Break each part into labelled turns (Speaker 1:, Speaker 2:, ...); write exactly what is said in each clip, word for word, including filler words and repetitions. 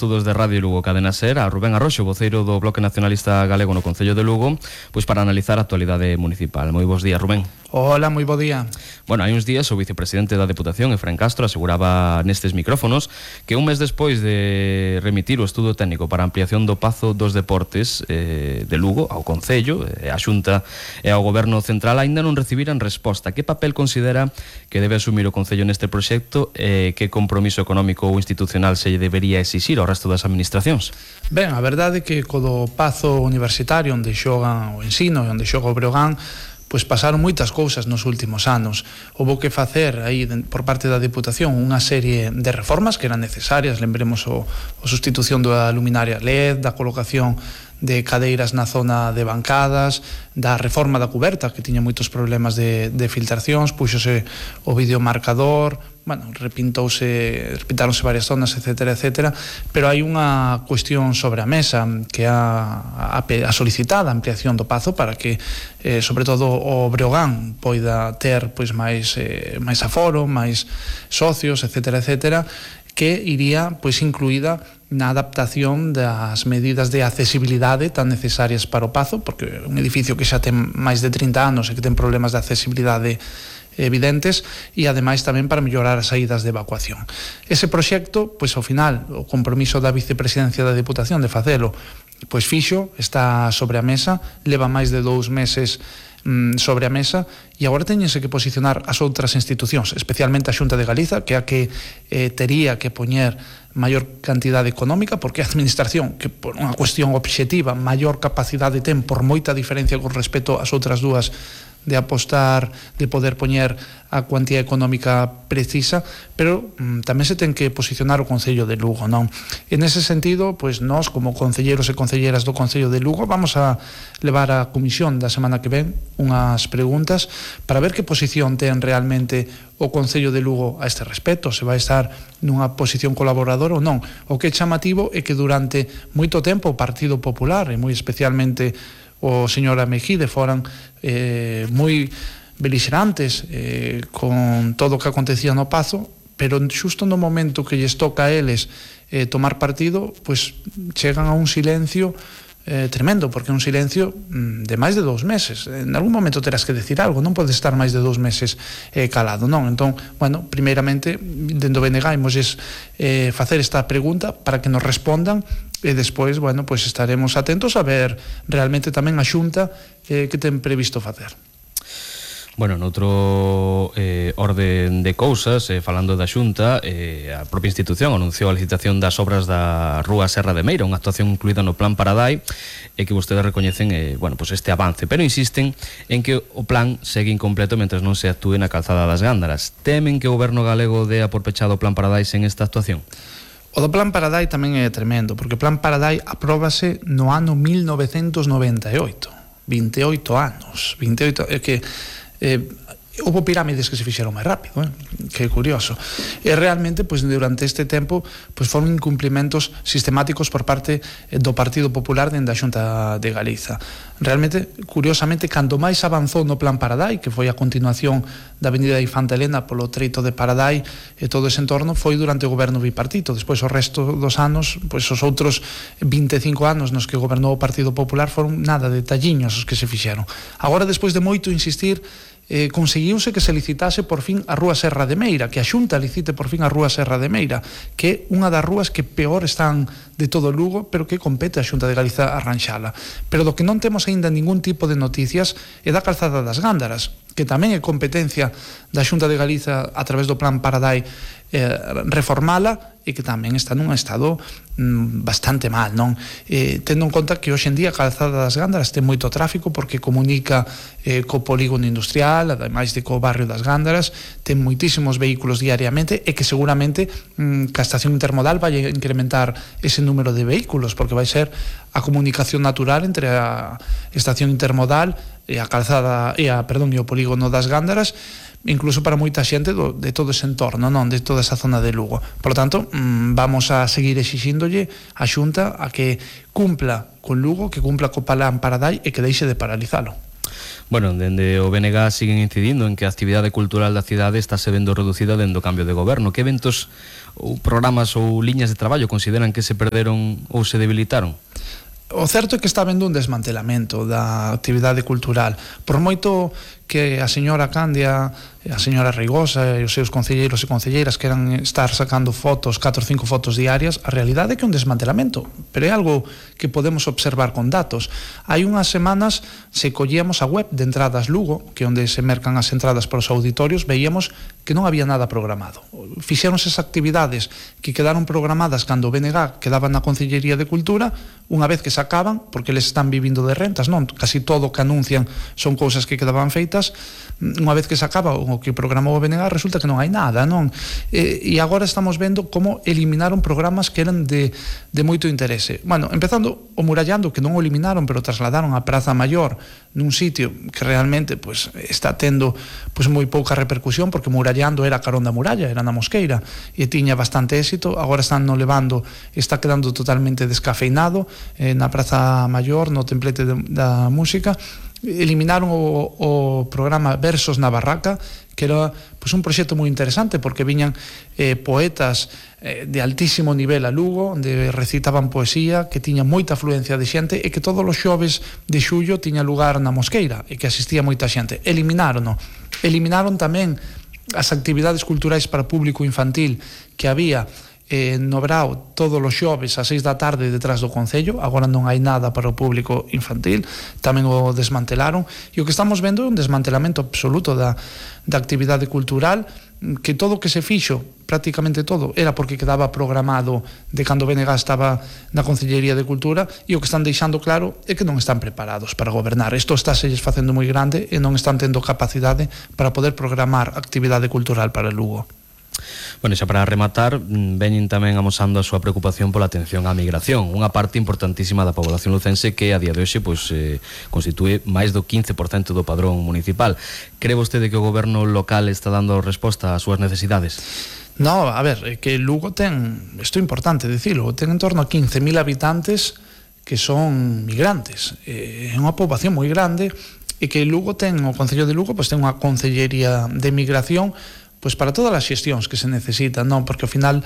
Speaker 1: estudos de Radio Lugo Cadena Ser a Rubén Arroxo, voceiro do Bloque Nacionalista Galego no Concello de Lugo, pois para analizar a actualidade municipal. Moi bons días, Rubén.
Speaker 2: Hola, moi bo día.
Speaker 1: Bueno, hai uns días o vicepresidente da Deputación, Efraín Castro, aseguraba nestes micrófonos que un mes despois de remitir o estudo técnico para a ampliación do Pazo dos Deportes eh, de Lugo ao Concello, eh, a Xunta e ao Goberno Central aínda non recibiran resposta. Que papel considera que debe asumir o Concello neste proxecto e eh, que compromiso económico ou institucional se debería exixir ao resto das administracións?
Speaker 2: Ben, a verdade é que co do Pazo Universitario onde xogan o Ensino e onde xoga o Breogán, pois pasaron moitas cousas nos últimos anos. Houbo que facer aí por parte da Deputación unha serie de reformas que eran necesarias, lembremos o, o sustitución da luminaria L E D, da colocación de cadeiras na zona de bancadas, da reforma da cuberta que tiña moitos problemas de, de filtracións, puxose o videomarcador, bueno, repintouse, repintáronse varias zonas, etcétera, etcétera, pero hai unha cuestión sobre a mesa que a, a, a solicitada ampliación do Pazo para que, eh, sobre todo, o Breogán poida ter pois máis eh, máis aforo, máis socios, etcétera, etcétera, que iría pois incluída na adaptación das medidas de accesibilidade tan necesarias para o Pazo, porque é un edificio que xa ten máis de trinta anos e que ten problemas de accesibilidade evidentes, e ademais tamén para mellorar as saídas de evacuación. Ese proxecto, pois ao final, o compromiso da vicepresidencia da Deputación de facelo, pois fixo, está sobre a mesa, leva máis de dous meses sobre a mesa, e agora teñense que posicionar as outras institucións, especialmente a Xunta de Galiza, que é a que eh, tería que poñer maior cantidade económica, porque a administración, que por unha cuestión obxectiva maior capacidade ten, por moita diferencia con respecto ás outras dúas, de apostar, de poder poñer a cuantía económica precisa, pero mm, tamén se ten que posicionar o Concello de Lugo, non? En ese sentido, pois nós, como concelleiros e concelleras do Concello de Lugo, vamos a levar á comisión da semana que ven unhas preguntas para ver que posición ten realmente o Concello de Lugo a este respecto, se vai estar nunha posición colaboradora ou non. O que é chamativo é que durante moito tempo o Partido Popular, e moi especialmente o señor Amejide, foran eh, moi belixerantes eh, con todo o que acontecía no Pazo, pero xusto no momento que lles toca a eles eh, tomar partido, pois chegan a un silencio eh, tremendo, porque é un silencio mm, de máis de dous meses. En algún momento terás que decir algo, non podes estar máis de dous meses eh, calado, non? Entón, bueno, primeiramente, dentro B N G imos eh, facer esta pregunta para que nos respondan, e despois, bueno, pois estaremos atentos a ver realmente tamén a Xunta eh, que ten previsto facer.
Speaker 1: Bueno, noutro eh, orden de cousas, eh, falando da Xunta, eh, a propia institución anunciou a licitación das obras da Rúa Serra de Meira, unha actuación incluída no Plan Paradai, e que vostedes recoñecen eh, bueno, pues este avance, pero insisten en que o plan segue incompleto mentre non se actúe na calzada das Gándaras. Temen que o goberno galego dea por pechado o Plan Paradai sen esta actuación?
Speaker 2: O do Plan Paradai tamén é tremendo, porque o Plan Paradai apróbase no ano mil novecentos noventa e oito, vinte e oito anos, vinte e oito, é que eh, houve pirámides que se fixeron máis rápido, eh? Que é curioso. E realmente, pois, durante este tempo, pois, foron incumplimentos sistemáticos por parte do Partido Popular dende a Xunta de Galiza. Realmente, curiosamente, cando máis avanzou no Plan Paradai, que foi a continuación da Avenida Infanta Elena polo treito de Paradai e todo ese entorno, foi durante o goberno bipartito. Despois, o resto dos anos, pois, os outros vinte e cinco anos nos que gobernou o Partido Popular foron nada, detalliños os que se fixeron. Agora, despois de moito insistir, Eh, conseguiuse que se licitase por fin a Rúa Serra de Meira, que a Xunta licite por fin a Rúa Serra de Meira, que é unha das rúas que peor están de todo Lugo, pero que compete a Xunta de Galiza arranxala. Pero do que non temos aínda ningún tipo de noticias é da calzada das Gándaras, que tamén é competencia da Xunta de Galiza a través do Plan Paradai eh, reformala, e que tamén está nun estado mm, bastante mal, non? Eh, tendo en conta que hoxe en día a calzada das Gándaras ten moito tráfico porque comunica eh, co polígono industrial, ademais de co barrio das Gándaras, ten moitísimos vehículos diariamente, e que seguramente mm, que a estación intermodal vai incrementar ese número de vehículos, porque vai ser a comunicación natural entre a estación intermodal e a calzada e a, perdón, e o polígono das Gándaras, incluso para moita xente do, de todo ese entorno, non, de toda esa zona de Lugo. Por lo tanto, mmm, vamos a seguir exixíndolle a Xunta a que cumpla con Lugo, que cumpla co Plan Paradai e que deixe de paralizalo.
Speaker 1: Bueno, dende o B N G siguen incidindo en que a actividade cultural da cidade está se vendo reducida dende o cambio de goberno. Que eventos ou programas ou liñas de traballo consideran que se perderon ou se debilitaron?
Speaker 2: O certo é que está vendo un desmantelamento da actividade cultural. Por moito que a señora Candia, a señora Reigosa e os seus concelleiros e concelleiras queran estar sacando fotos, catro ou cinco fotos diarias, a realidade é que é un desmantelamento, pero é algo que podemos observar con datos. Hai unhas semanas, se collíamos a web de Entradas Lugo, que é onde se mercan as entradas para os auditorios, veíamos que non había nada programado. Fixéronse esas actividades que quedaron programadas cando o B N G quedaban na Concellería de Cultura, unha vez que se acaban, porque eles están vivindo de rentas, non? Casi todo o que anuncian son cousas que quedaban feitas, unha vez que se acaba o que programou o B N G resulta que non hai nada, non? E, e agora estamos vendo como eliminaron programas que eran de, de moito interese. Bueno, empezando o Murallando, que non o eliminaron, pero trasladaron a Praza Maior nun sitio que realmente pues, está tendo pues, moi pouca repercusión, porque Murallando era carón da muralla, era na Mosqueira, e tiña bastante éxito. Agora están no levando, está quedando totalmente descafeinado eh, na Praza Maior, no templete de, da música. Eliminaron o, o programa Versos na Barraca, que era pues, un proxecto moi interesante, porque viñan eh, poetas eh, de altísimo nivel a Lugo, onde recitaban poesía, que tiña moita afluencia de xente, e que todos os xoves de xullo tiña lugar na Mosqueira, e que asistía moita xente. Eliminaron, eliminaron tamén as actividades culturais para público infantil que había eh, no Brao todos os xoves a seis da tarde detrás do Concello. Agora non hai nada para o público infantil, tamén o desmantelaron, e o que estamos vendo é un desmantelamento absoluto da, da actividade cultural, que todo o que se fixo, prácticamente todo, era porque quedaba programado de cando o B N G estaba na Concellería de Cultura, e o que están deixando claro é que non están preparados para gobernar. Isto está se facendo moi grande e non están tendo capacidade para poder programar actividade cultural para Lugo.
Speaker 1: Bueno, xa para rematar, veñen tamén amosando a súa preocupación pola atención á migración, unha parte importantísima da población lucense que a día de hoxe pois, eh, constitúe máis do quince por cento do padrón municipal. Cree vostede que o goberno local está dando resposta ás súas necesidades?
Speaker 2: No, a ver, é que Lugo ten, isto é importante dicilo, ten en torno a quince mil habitantes que son migrantes. É unha poboación moi grande, e que Lugo ten, o Concello de Lugo, pois ten unha concellería de migración pois para todas as xestións que se necesitan, non? Porque ao final,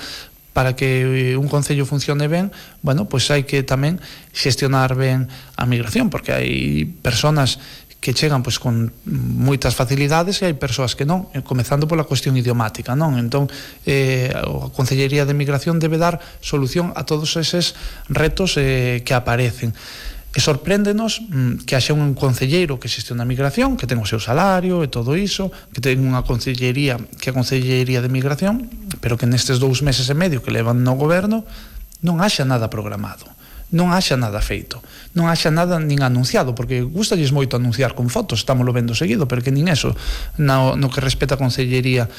Speaker 2: para que un concello funcione ben, bueno, pois hai que tamén xestionar ben a migración, porque hai persoas que chegan pois con moitas facilidades e hai persoas que non, comezando pola cuestión idiomática, non? Entón, eh, a Concellería de Migración debe dar solución a todos eses retos eh, que aparecen. E sorpréndenos mm, que haxa un concelleiro que xestiona a migración, que ten o seu salario e todo iso, que ten unha concellería que é a Concellería de Migración, pero que nestes dous meses e medio que levan no goberno non haxa nada programado, non haxa nada feito, non haxa nada nin anunciado, porque gustalles moito anunciar con fotos, estámoslo vendo seguido, pero que nin eso no, no que respeta a Concellería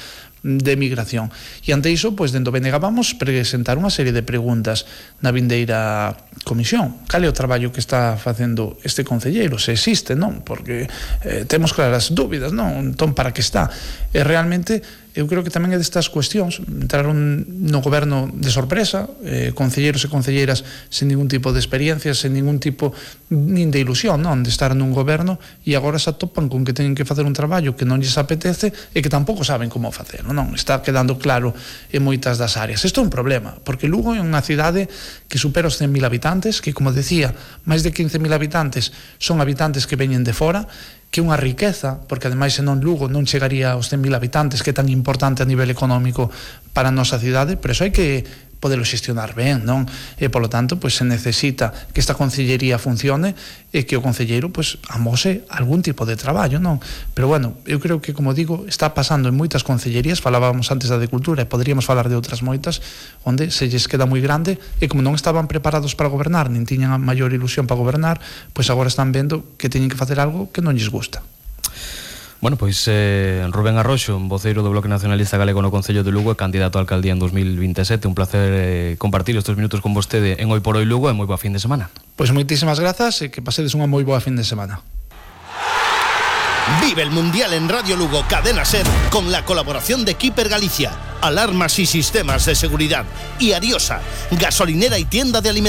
Speaker 2: de Migración. E ante iso, pois, dentro do B N G vamos presentar unha serie de preguntas na vindeira comisión. Cal é o traballo que está facendo este concelleiro? Se existe, non? Porque eh, temos claras dúbidas, non? Entón, para que está? E realmente, eu creo que tamén é destas cuestións. Entraron no goberno de sorpresa, eh, concelleiros e concelleiras sen ningún tipo de experiencia, sen ningún tipo nin de ilusión, non? De estar nun goberno, e agora se atopan con que teñen que facer un traballo que non lles apetece e que tampouco saben como facelo, non? Está quedando claro en moitas das áreas. Isto é un problema, porque Lugo é unha cidade que supera os cen mil habitantes, que, como decía, máis de quince mil habitantes son habitantes que veñen de fora, que é unha riqueza, porque ademais senón Lugo non chegaría aos cen mil habitantes, que é tan importante a nivel económico para a nosa cidade, pero iso hai que podelo xestionar ben, non? E, polo tanto, pois, se necesita que esta concellería funcione e que o concelleiro, pois, amose algún tipo de traballo, non? Pero, bueno, eu creo que, como digo, está pasando en moitas concellerías, falábamos antes da de Cultura e poderíamos falar de outras moitas, onde se lles queda moi grande e como non estaban preparados para gobernar, nin tiñan a maior ilusión para gobernar, pois agora están vendo que teñen que facer algo que non lles gusta.
Speaker 1: Bueno, pois eh, Rubén Arroxo, voceiro do Bloque Nacionalista Galego no Concello de Lugo e candidato a alcaldía en dos mil vinte e sete. Un placer eh, compartir estes minutos con vostede en Hoy por Hoy Lugo e moi boa fin de semana.
Speaker 2: Pois moitísimas grazas e que pasedes unha moi boa fin de semana.
Speaker 3: Vive el Mundial en Radio Lugo Cadena Ser con la colaboración de Keeper Galicia, Alarmas y Sistemas de Seguridad, y Ariosa, gasolinera y tienda de alimentos.